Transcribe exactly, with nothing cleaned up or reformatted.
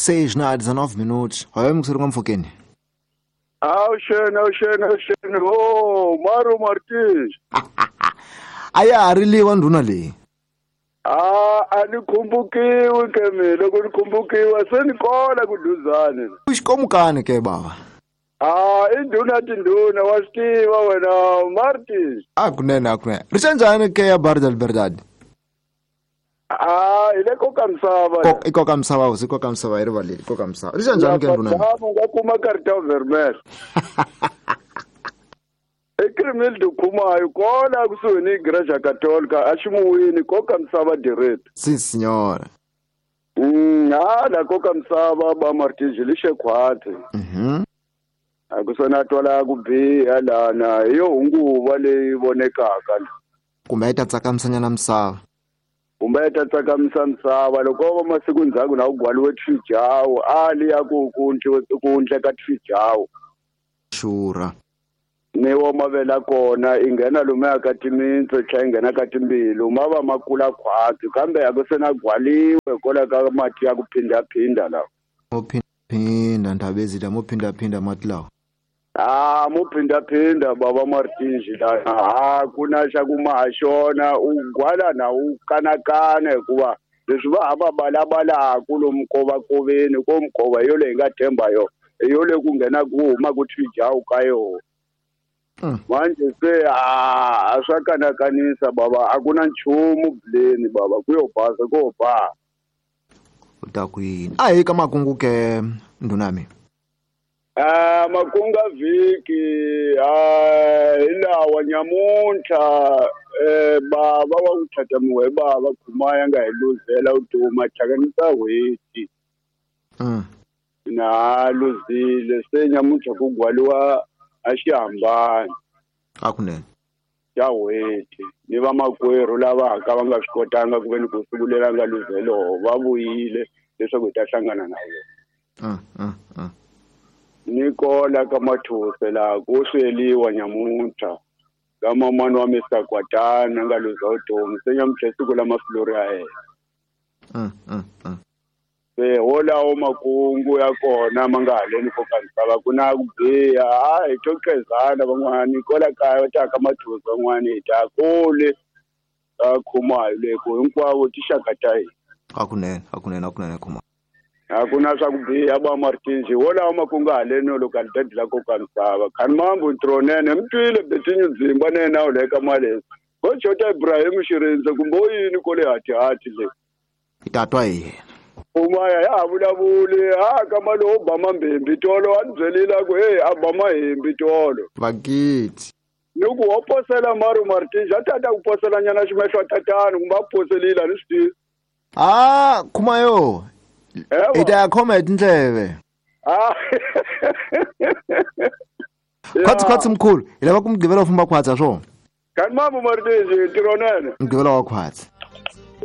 Seis na dezenove minutos. Olha, me gostaria como foquene. Awuxeni, awuxeni, awuxeni. Oh, Maru Martins. A ya ha riliwa ndhuna leyi. Ah, a ni khumbukiwi ke mina, loko ni khumbukiwa se ni kona ku duzane. Xikomukani ke bava. Ah, i ndhuna tindhuna wa swi tiva wena Martins. A kunene, a kunene. Ri njhani ke ya Bar del Verdade? Ah, hi le koka misava. I koka misava, hosi, koka misava hi rivaleli, koka misava. Ri njhani ke ndhuna? U nga kuma cartão vermelho. I Crimildo Khumayo kona kusuhi ni Igreja Católica a ximuwini koka misava direct. Sim senhora. Mm, ah, la koka misava ba Martins lixe khwatsi. Mhm. A ku sona twala ku biha lana hi yo hunguva leyi vonekaka. Kumbe yi ta tsakamisanyana misava. Kumbe yi ta tsakamisa misava loko va masiku ndzhaku na ku gwaliwe tfijawu a li ya ku ku ku ndleka tfijawu. Xura. Ni wo mavela kona i nghena lomuya ka timintsu tlhela i nghena ka timbilu ma va ma kula khwatsi kambe a ku se na gwaliwe hikwalaho ka mati ya ku phindaphinda lawa. Mo phindaphinda ndhavezila mo phindaphinda mati lawa. Ah, mo phindaphinda baba Martins lana ha ku na xa ku ma ha xona u gwala na u kanakana hikuva leswi va ha va balabalaku lomu kovakoveni ko mikova yo leyi nga themba yo hi yo leyi ku nghena ku huma ku tfijawu ka yona. Manje se a swa kanakanisa baba a ku na nchumu buleni baba ku yo basa ko ba. U ta ku yini? A hi ka makungu ke ndhuna mina. Ah, makunga vhiki ah hi lawa nyamuntlha eh baba wa ku thatamiwa hi bava Khumaya nga hi luzela vutomi a thyakanyisa n'hweti. Mm. Na luzile se nyamuntlha ku gwaliwa a xi hambani. A kunene. Ya n'hweti ni vamakwerhu lava ka va nga swi kotanga ku ve ni ku siku leri a nga luzelo va vuyile leswaku hi ta hlangana na vona. Mm, mm, mm. Ni kola ka Mathuse laha ku sweliwa nyamuntlha ka mamani wa Mister Kwatana nga luza vutomi se nyamuntlha i siku la mafilori ya yena. Mm, mm, mm. Se wolawo makungu ya kona ma nga haleni ko ka misava ku na ku biha a hi to qhezana van'wani kwala kaya va ta ka Mathuse van'wani hi ta kule ka Khumayo le ku hinkwavo tixaka ta hina. A kunene, a kunene, a kunene Khumalo. A ku na swa ku biha ba Martins wolawo makungu haleni loko a li dadila ko ka misava khani mambu ntronene mi twile Betinyu Dzimba na yena u le ka Malesa ko Jota Ibrahim Xirindze kumbe o yini ko le hatihati le. Hi ta twa hi yena. Umaya ya ha vulavuli ha ka mali wo ba mambembi tolo a ni byelile a ku hey a ba mahembi tolo. Vakiti. Ni ku wo posela Maru Martins a ta ta ku posela nyana ximehlo tatana kumbe a poselile a ni swi tivi. Ah, Khumayo. Hi ta ya khoma hi tindleve. Ah. Khwatsi khwatsi mkhulu, hi lava ku mugqivela wu famba khwatsi ha swona. Kani mambu Martins ntirho nene. Mugqivela wa khwatsi.